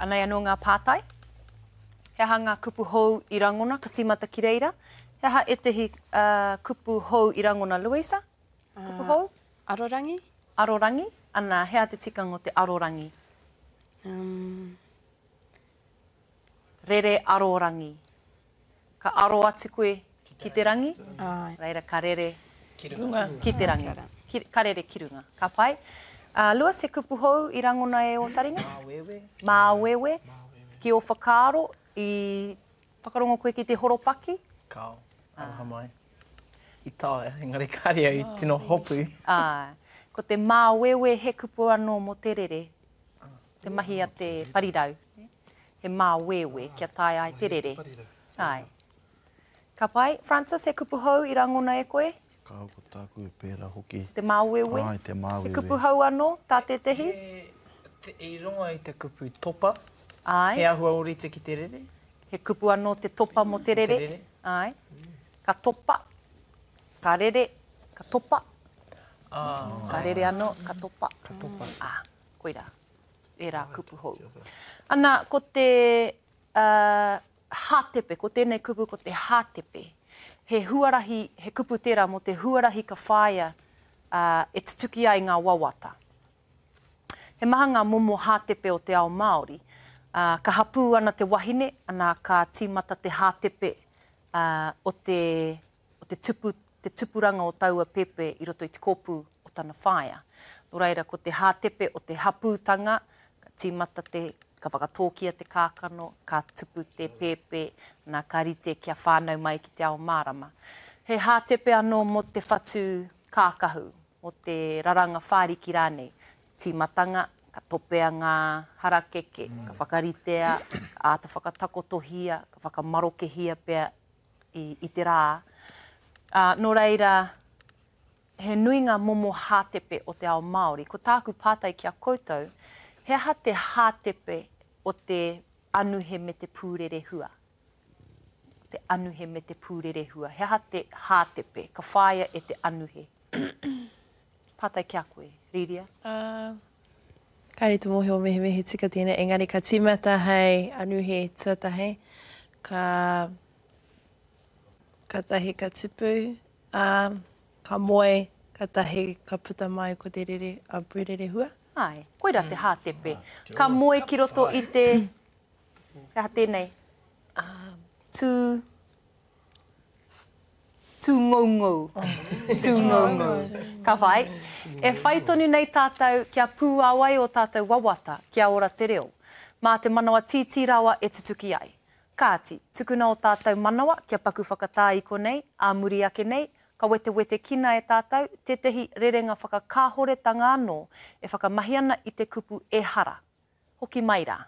Anei anō ngā pātai. He aha ngā kupu hou i rangona? Ka tīmata ki reira. He aha ētehi kupu hou i rangona, Louisa? Kupu hou? Arorangi. Arorangi. Ana, he aha te tikanga o te arorangi? Um. Rere arorangi. Ka aro atu koe ki te rangi, Āe. reira ka rere Ki runga. ki te rangi. Ki, ka rere ki runga. Ka pai. Uh, Lewis, he kupu hou i rangona e ō taringa? Māwewe. Māwewe. Ki ō whakaaro, i whakarongo koe ki te horopaki? Kāo. Aroha mai. I taea, engari kāre au i tino hopu. Āe. Ko te māwewe he kupu anō mō te rere. Te mahi a te parirau. He māwewe kia taea ai te rere. Āe. Ka pai. Francis, he kupu hou i rangona e koe? Kāo, ko tāku e pērā hoki. Te māwewe? Āe, te māwewe. He kupu hou anō tā tētehi? He, i rongo i te kupu topa. Āe. He āhua ōrite ki te rere. He kupu anō te topa mō te rere. Te rere. Āe. Ka topa, ka rere, ka topa. Ka rere anō, ka topa. Ka topa. Ā, koirā. Ērā kupu hou. Ana, ko te, uh, hātepe, ko tēnei kupu ko te hātepe. He huarahi, he kupu tērā mō te huarahi ka whāia uh, e tutuki ai ngā wawata. He maha ngā momo hātepe o te ao Māori. Uh, ka hapū ana te wahine, ana ka tīmata te hātepe uh, o te o te tupu, te tupuranga o taua pepe i roto i te kōpū o tana whaea. Nō reira, ko te hātepe o te hapūtanga, ka tīmata te, ka whakatōkia te kākano, ka tupu te pēpē, nā, ka rite kia whānau mai ki te ao mārama. He hātepe anō mō te whatu kākahu, mō te raranga whāriki rānei. Tīmatanga, ka topea ngā harakeke, ka whakaritea, ka āta whakatakotohia, ka whakamarokehia pea i, i te rā. Ā, nō reira, he nui ngā momo hātepe o te ao Māori. Ko tāku pātai ki a koutou, he aha te hātepe o te anuhe me te pūrerehua? Te anuhe me te pūrerehua. He aha te hātepe ka whāia e te anuhe? Pātai ki a koe, Rīria. Uh, kāre te mōhio mehemea he tika tēnei, engari ka tīmata hei anuhe tuatahi, ka, katahi ka tupu, ā, ka moe, katahi ka puta mai ko te rere, a pūrerehua. Āe, koirā te hātepe. Ka moe ki roto i te, he aha tēnei? Tū, Tūngoungou. Tūngoungou. Ka whai. E whai tonu nei tātou kia pūāwai ō tātou wawata kia ora te reo. Mā te manawa tītī rawa e tutuki ai. Kāti, tukuna ō tātou manawa kia paku whakatā i konei, ā muri ake nei, ka wetewetekina e tātou tētehi rerenga whakakāhoretanga anō e whakamahi ana i te kupu ehara. Hoki mai rā.